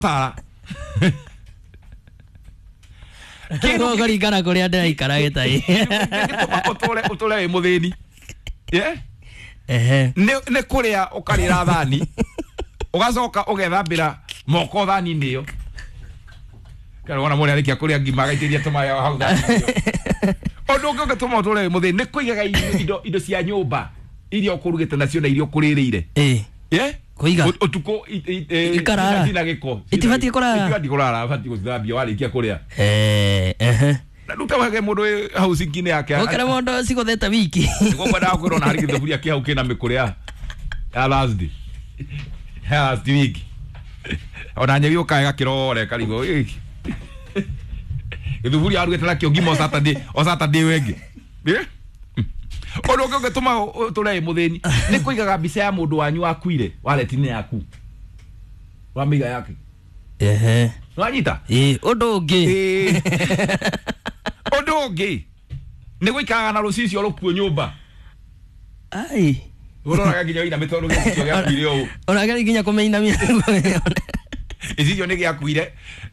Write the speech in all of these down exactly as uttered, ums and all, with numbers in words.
Sara Kĩndũ kũringana kũrĩa ndĩraikara gĩtai. Gĩtũma ũtũre ũtũre wĩ mũthĩni. Yeah? Ehe. Nĩ nĩ kũrĩa ũkarĩra thani ũgacoka ũgethambĩra moko thani-inĩ ĩyo. Kana wona mũndũ arĩkia kũrĩa ngima agaitĩria tũmaĩ hau thani-inĩ ĩyo. Ũndũ ũngĩ ũngĩtũma ũtũre wĩ mũthĩni nĩ kũigaga indo- indo indo cia nyũmba iria ũkũrugĩte nacio na iria ũkũrĩrĩire. Ĩĩ. Yeah? Kũiga. Ũ- ũtukũ i- i- eh, Ikarara. cina gĩko. Itibatiĩ kũrara. Itibatiĩ kũrara, batiĩ gũcithambia warĩkia kũrĩa. Eh, ehe. Na rĩu ta wege mũndũ wĩ hau cinki-inĩ yake. Gũkĩra mũndũ cigũthete wiki. Nĩguo kwendaga kwĩrwo na harĩ gĩthaburia kĩ hau kĩna mĩkũrĩ ya ya Thursday. Ya last week. Ona nyeki ũkae gakĩrore karigwo. "Ĩ." Gĩthuburia arugĩte nakĩo ngima o Saturday, o Saturday ĩyo ĩngĩ. Ĩ? Ũndũ ũngĩ ũngĩtũma ũtũre wĩ mũthĩni nĩ kũigaga mbica ya mũndũ wanyu wakuire wallet-inĩ yaku. Wamĩiga yake. Ehe. Nĩwanyita? Ĩĩ, ũndũ ũngĩ. Ĩĩ. Ũndũ ũngĩ nĩ gũikaraga na rũcicio rũkuo nyũmba. Ai. Ũroraga nginya ũinamĩte tondũ gĩcicio gĩakuire ũũ. Ũrageri nginya kũmĩinamia. Gĩcicio nĩ gĩakuire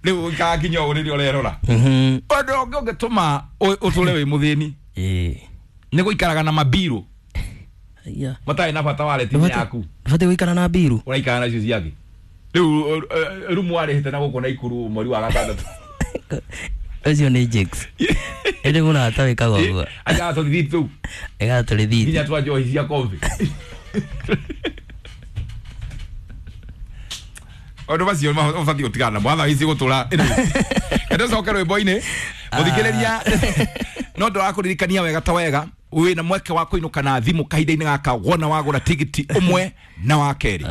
rĩu ũikaraga nginya ũũ rĩrĩa ũrerora. Mhm. Ũndũ ũngĩ ũngĩtũma ũ- ũtũre wĩ mũthĩni Ĩĩ. nĩ gũikaraga na mabirũ Aya. matarĩ na bata wallet-inĩ yaku. Ndũbatiĩ gũikara na mbiru. Ũraikara nacio ciake. Rĩu rumu warĩhĩte na gũkũ Naikuru mweri wa gatandatũ. Ũcio nĩ Jakes. Ĩndĩ mũrata wĩkaga ũguo. Ajaga tũrĩthiti tũu Ĩgaga tũrĩthiti. nginya twa njohi cia kombi. Ũndũ macio ũbatiĩ gũtigana namo watha ici gũtũra. Kende ũcoke rwĩmbo-inĩ mũthikĩrĩria no ndĩrakũririkania wega ta wega wĩna mweke wa kũinũka na thimũ kahinda-inĩ gaka wona wagũra tigiti ũmwe na wa kerĩ.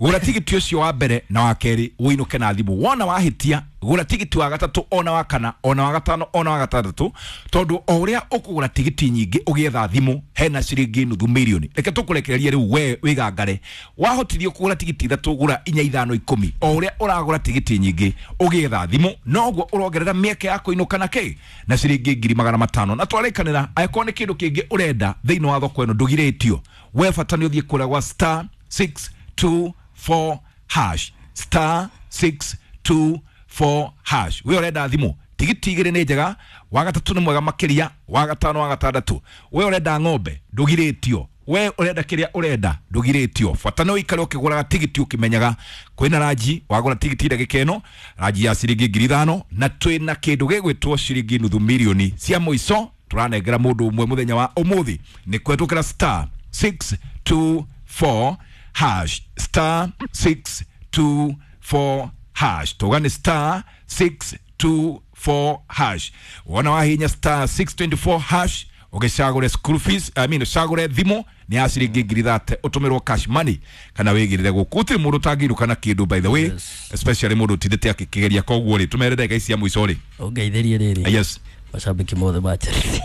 Gũra tigiti ũcio wa mbere na wa kerĩ ũinũke na thimũ. Wona wahĩtia gũra tigiti wa gatatũ ona wa kana ona wa gatano ona wa gatandatũ tondũ o ũrĩa ũkũgũra tigiti nyingĩ ũgĩetha thimũ hena ciringi nuthu mirioni. Reke tũkũrekererie rĩu we wĩgangare. Wahotithio kũgũra tigiti ithatũ gũra inya ithano ikũmi. O ũrĩa ũragũra tigiti nyingĩ ũgĩetha thimũ noguo ũrongerera mĩeke ya kũinũka na kĩ na ciringi ngiri magana matano. Na twarĩkanĩra angĩkorwo nĩ kĩndũ kĩngĩ ũrenda thĩinĩ wa thoko ĩno ndũgirĩtio. We bata nĩ ũthiĩ kũrĩa gwa star six two four hash star six two four hash. We ũrenda thimũ tigiti igĩrĩ nĩ njega, wa gatatũ nĩ mwega makĩria, wa gatano wa gatandatũ. We ũrenda ng'ombe ndũgirĩtio. We ũrenda kĩrĩa ũrenda ndũgirĩtio. Bata nĩ ũikare ũkĩgũraga tigiti ũkĩmenyaga kwĩna ranji wagũra tigiti ndagĩka ĩno ranji ya ciringi ngiri ithano na twĩna kĩndũ gĩgwĩtwo ciringi nuthu mirioni cia mũico tũranengera mũndũ ũmwe mũthenya wa ũmũthĩ nĩ kũhetũkĩra star six two four hash star six two four hash. Tuga nĩ star six two four hash. Wona wahinya star six twenty four hash ũgĩcagũre school fees, I mean ũcagũre thimũ nĩ ya ciringi ngiri thate ũtũmĩrwo cash money kana wĩgĩrĩre gũkũ. Gũtirĩ mũndũ ũtangĩinũka na kĩndũ by the way. Yes. Especially mũndũ ũtindĩte akĩkĩgeria koguo rĩ tũmere ndagĩka ici cia mũico rĩ. Ũngeithĩrie rĩrĩ. Yes. Mashabiki mothe ma Chelsea.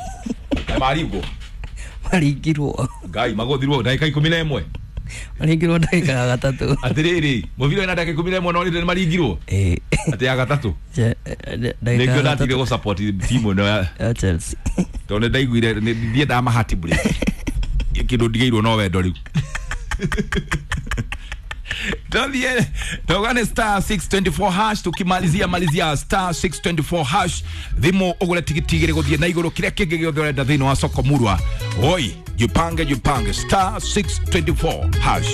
Maringwo. Maringirwo. Ngai magũthirwo ndagĩka ikũmi na ĩmwe. Maringirwo ndagĩka ya gatatũ. Atĩrĩrĩ mũbira wĩna ndagĩka ikũmi na ĩmwe no rĩrĩ nĩmaringirwo. Ĩĩ. Atĩ ya gatatũ. Je- ndagĩka Nĩkĩo ya ndatigire gatatũ gũ support timu ĩno ya ya Chelsea. tondũ nĩ ndaiguire nĩ- ndiendaga mahati break. Kĩndũ ndigĩirwo no wendo rĩu. Tuambie, tuungane star six twenty four hash tukimalizia malizia star six twenty four hash thimũ ũgũre tigiti igĩrĩ gũthiĩ na igũrũ kĩrĩa kĩngĩ gĩothe ũrenda thĩinĩ wa soko murwa. Oi, jipange jipange star six twenty four hash.